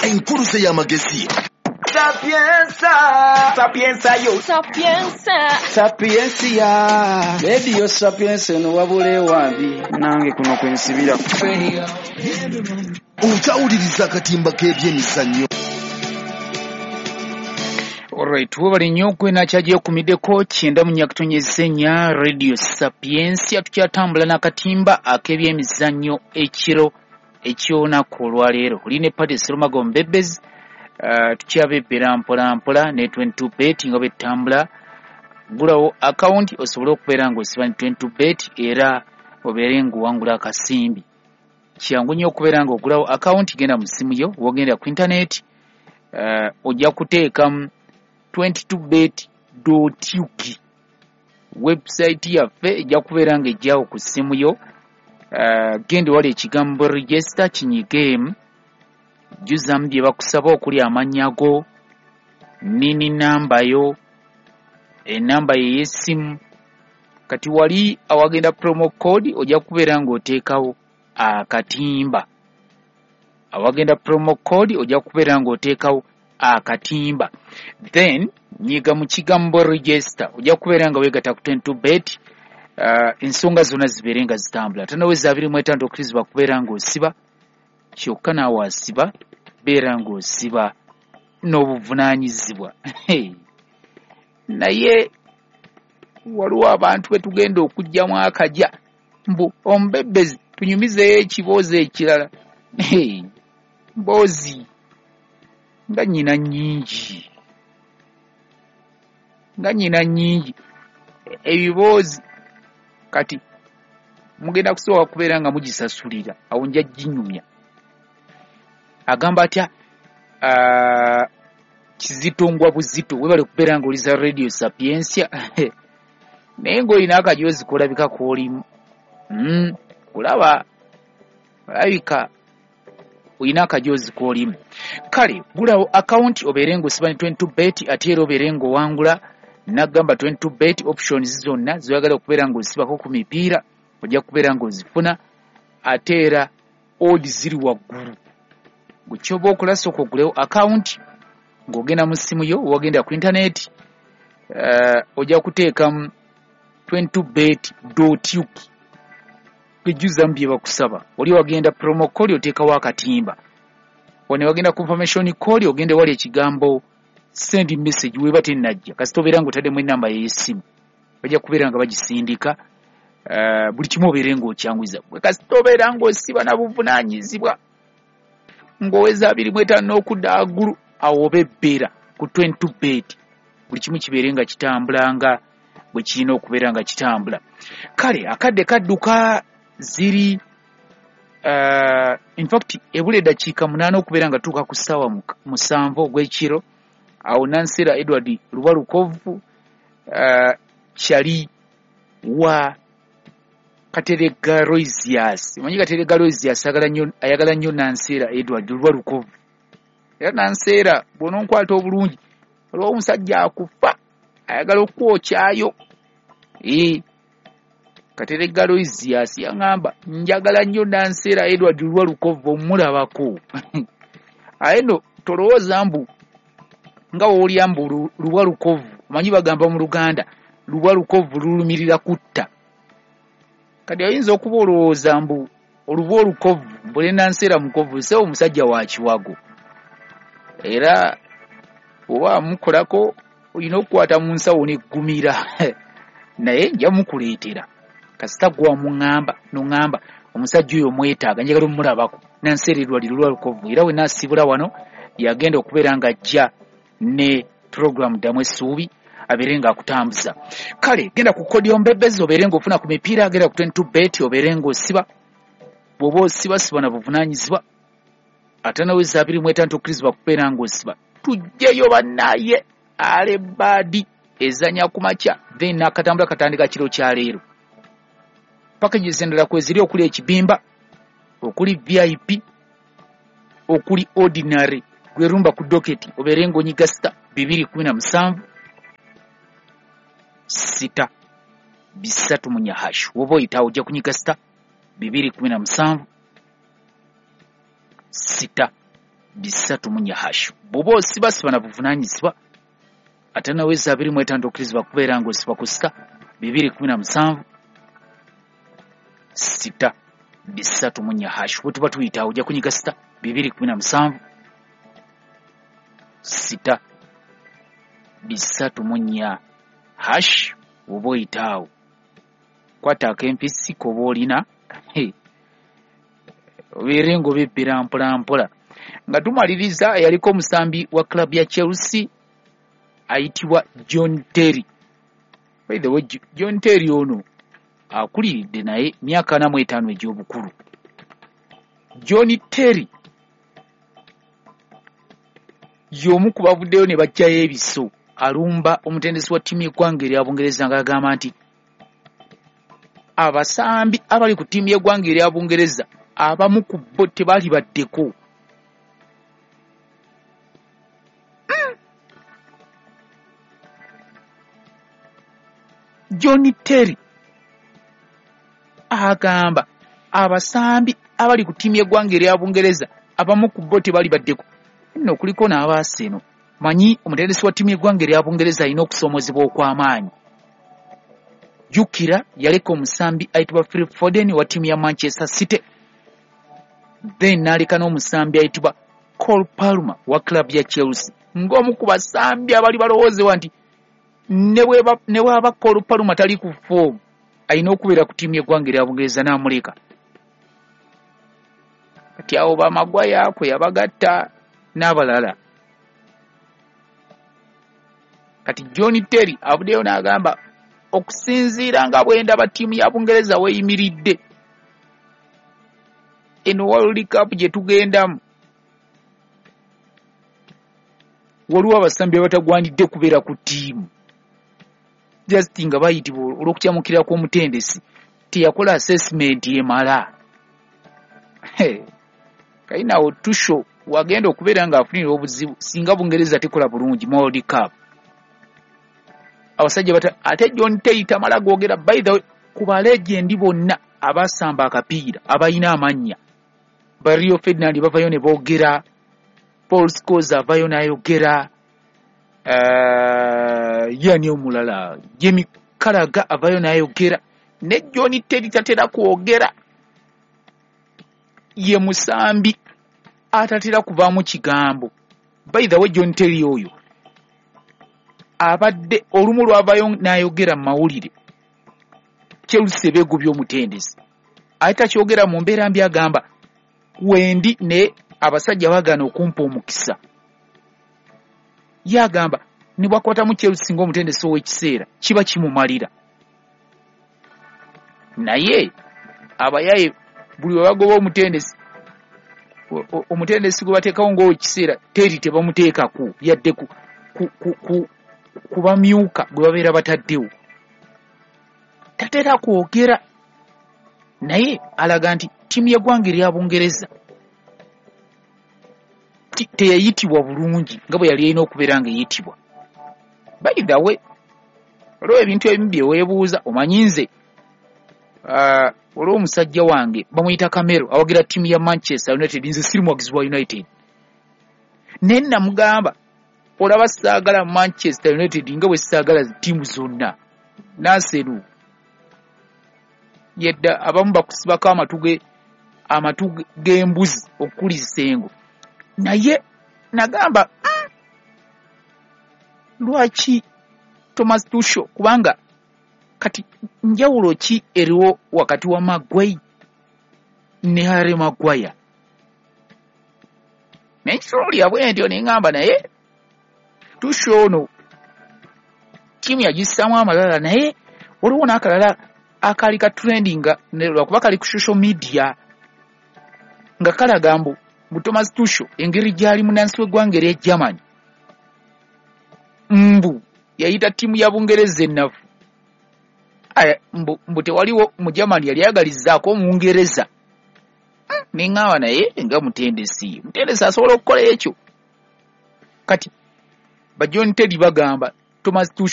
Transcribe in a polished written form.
Enkuluze y'amagezi. Sapienza, sapienza yo. Sapienza. Sapiensia. Radio Sapienza eno wabula ewabi nange kuno kwensibira. Okyawuliriza akatimba k'ebyemizannyo. Alright, webale nnyo kwena kyagyekumiddeko 94.4 Radio Sapiensia. Tukyatambula n'akatimba ak'ebyemizannyo ekiro eky'olunaku olwaleero. Oli ne Paddy Serumago Mbebezi. Tukyabebbera mpola mpola ne 22 bet nga bwetutambula. Gulawo akawunti osobole okubeera ng'osiba ne 22 bet era obeere ng'owangula akasimbi. Kyangu nnyo okubeera ng'ogulawo akawunti, genda mu ssimu yo, w'ogenda ku intaneti, ojja kuteekamu 22bet.ug. Website yaffe ejja kubeera ng'ejjawo ku ssimu yo. Genda wali ekigambo register kinyigeemu, jjuzamu bye bakusaba okuli amannya go, nini namba yo, enamba ye ey'essimu. Kati wali awagenda promo code ojja kubeera ng'oteekawo akatimba. Awagenda promo code ojja kubeera ng'oteekawo akatimba. Then nyiga mu kigambo register ojja kubeera nga weegatta ku 22 bet. Ensonga zonna zibeere nga zitambula. Tanaweza 25 okkirizibwa kubeera ng'osiba, kyokka naawe asiba beera ng'osiba n'obuvunaanyizibwa. Naye waliwo abantu be tugenda okuggyamu akajja mbu omubebbezi tunyumizeeyo ekiboozi ekirala. Mboozi nga nnyina nnyingi, nga nnyina nnyingi ebiboozi. Kati mugenda kusooka kubeera nga mugisasulira, awo nja ginyumya. Agamba atya Kizito ngwa buzito, webale kubeera ng'oliza Radio Sapiensia. Naye ng'olina akajoozi k'olabika k'olimu. Kulaba olabika olina akajoozi k'olimu. Kale gulawo akawunti obeere ng'osiba ne 22 bet ate era obeere ng'owangula. Nagamba 22 bet options zonna zoyagala okubeera ng'osibako ku mipiira ojja kubeera ng'ozifuna, ate era odds ziri waggulu. Gwe ky'oba okola sooka ogulewo akawunti ng'ogenda mu ssimu yo, wagenda ku intaneti, ojja kuteekamu 22bet.ug ejjuzamu bye bakusaba. Oli wagenda promo code oteekawo akatimba, wano wagenda confirmation code ogenda wali ekigambo send message weba tennajja, kasita obeera ng'otaddemu ennamba y'essimu bajja kubeera nga bagisindika. Buli kimu obeere ng'okyanguyiza. Gwe kasita obeera ng'osiba na buvunaanyizibwa ng'oweza 25 n'okudda waggulu, awo oba ebbeera ku 22 bet, buli kimu kibeere nga kitambula nga bwe kirina okubeera nga kitambula. Kale akadde kadduka, ziri in fact ebula eddakiika 8 okubeera nga tuuka ku ssaawa 7 ogw'ekiro. Awo Nansera Edward Lubalukovu kyali wa Kateregga Roisias. Omanyi Kateregga Roisias ayagala nnyo Nansera Edward Lubalukovu. Era Nansera bw'ononkwata obulungi, waliwo omusajja akufa ayagala okukwokyayo. Kateregga Roisias yaŋŋamba njagala nnyo Nansera Edward Lubalukovu omulabako. Aye nno tolowooza mbu nga w'olya mbu Lubalukovu, omanyi bagamba mu Luganda Lubalukovu lulumirira kutta. Kati oyinza okuba olowooza mbu oluba olukovu mbu ne Nansera mukovu, ssebo omusajja wa kiwago. Era oba mukolako olina okukwata mu nsawo n'eggumira. Naye nja mukuleetera kasita gwe wamuŋŋamba n'oŋŋamba omusajja oyo mwetaaga, njagala omulabako. Nansera Edward Lubalukovu era we naasibula wano yagenda okubeera ng'ajja ne program ddamu essuubi abeere ng'akutambuza. Kale genda ku kodi ombebezi obeere ng'ofuna ku mipiira, genda ku 22 bet obeere ng'osiba. Bw'oba osiba siba na buvunaanyizibwa, ate naweza 25 okkirizibwa kubeera ng'osiba. Tujjeyo bannaye alebaadi ezanya ku makya, then n'akatambula katandika kiro kya leero. Packages endala kweziri okuli ekibimba, okuli VIP, okuli ordinary. Gwerumba ku doketi obeere ng'onyiga sita 217 6 3 munya hash. Woba oyitawo ojja kunyiga sita 217 6 3 4 hash. Bw'oba osiba siba na buvunaanyizibwa, ate naweza 25 okkirizibwa kubeera ng'osiba ku sita 217 6 3 4 hash. Bwe tuba tuyita awo ojja kunyiga sita 217 6 3 4 hash. Oba oyita awo kwata ak'empisi koba olina obeere ng'obibbira mpola mpola. Nga tumaliriza, eyaliko omusambi wa club ya Chelsea ayitibwa John Terry. By the way, John Terry ono akuliridde naye myaka 45 egy'obukulu. John Terry y'omu ku bavuddeyo ne baggyayo ebiso alumba omutendesi wa ttiimu y'eggwanga erya Bungereza, ng'agamba nti abasambi abali ku ttiimu y'eggwanga erya Bungereza abamu ku bo tebaali baddeko. John Terry agamba abasambi abali ku ttiimu y'eggwanga erya Bungereza abamu ku bo tebaali baddeko. Nno kuliko n'abaaseno manyi omutendesi wa ttiimu y'eggwanga erya Bungereza alina okusoomozebwa okw'amaanyi. Jjukira yaleka omusambi ayitibwa Philip Foden wa ttiimu ya Manchester City, then n'aleka n'omusambi ayitibwa Cole Palmer wa club ya Chelsea, ng'omu ku basambi abali balowoozebwa nti ne bw'aba Cole Palmer tali ku form alina okubeera ku ttiimu y'eggwanga erya Bungereza, n'amuleka. Kati awo ba Maguire kwe yabagatta n'abalala. Kati John Terry avuddeyo n'agamba, okusinziira nga bwe ndaba ttiimu ya Bungereza weeyimiridde eno World Cup gye tugendamu, waliwo abasambi abatagwanidde kubeera ku ttiimu, just nga bayitibwa olw'okukyamukira kw'omutendesi teyakola assessment emala. Kayinawo Tuchel wagenda okubeera ng'afunira obuzibu singa Bungereza tekola bulungi mu World Cup. Abasajja bata ate John Terry tamala googera. By the way, ku ba legend bonna abasamba akapiira abalina amannya, ba Rio Ferdinand bavayo ne boogera, Paul Scholes avayo n'ayogera, yani omulala Jamie Carragher avayo n'ayogera, ne John Terry tatera kwogera. Ye musambi atatera kuvaamu kigambo. By the way, John Terry oyo abadde olumu lwavayo n'ayogera mu mawulire Chelsea beegobya omutendesi, ate takyogera mu mbeera mbi, agamba wendi ne abasajja bagaana okumpa omukisa. Ye agamba ne bwakwatamu Chelsea ng'omutendesi ow'ekiseera kiba kimumalira, naye abayaye buli we bagoba omutendesi, omutendesi gwe bateekawo ng'owekiseera Terry tebamuteekako yadde ku bamyuka gwe babeera bataddewo. Tatera kwogera, naye alaga nti ttiimu y'eggwanga erya Bungereza teyayitibwa bulungi nga bwe yali erina okubeera ng'eyitibwa. By the way, waliwo ebintu ebimu bye weebuuza. Omanyi nze waliwo omusajja wange bamuyita Camero, awagira ttiimu ya Manchester United. Nze siri muwagizi wa United, naye namugamba, olaba saagala Manchester United nga bwe saagala ttiimu zonna. Nansenu yedda abamu bakusibako amatu g'embuzi okukulisa engo, naye nagamba, lwaki Thomas Tuchel? Kubanga kati njawulo ki eriwo wakati wa Maguire ne Harry Maguire? Naye nkitunulira bwe ntyo ne ŋŋamba, naye Tuchel ono ttiimu yagissaamu amalala. Naye waliwo n'akalala akaali ka trending lwakuba kali ku social media nga kalaga mbu Thomas Tuchel engeri gy'ali munnansi w'eggwanga erya Germany, mbu yayita ttiimu ya Bungereza ennafu. Mbu tewaliwo mu Germany yali ayagalizzaako Omungereza. Ne ŋŋamba, naye nga mutendesi asobola okukola ekyo? Kati ba John Terry bagamba Thomas Tuchel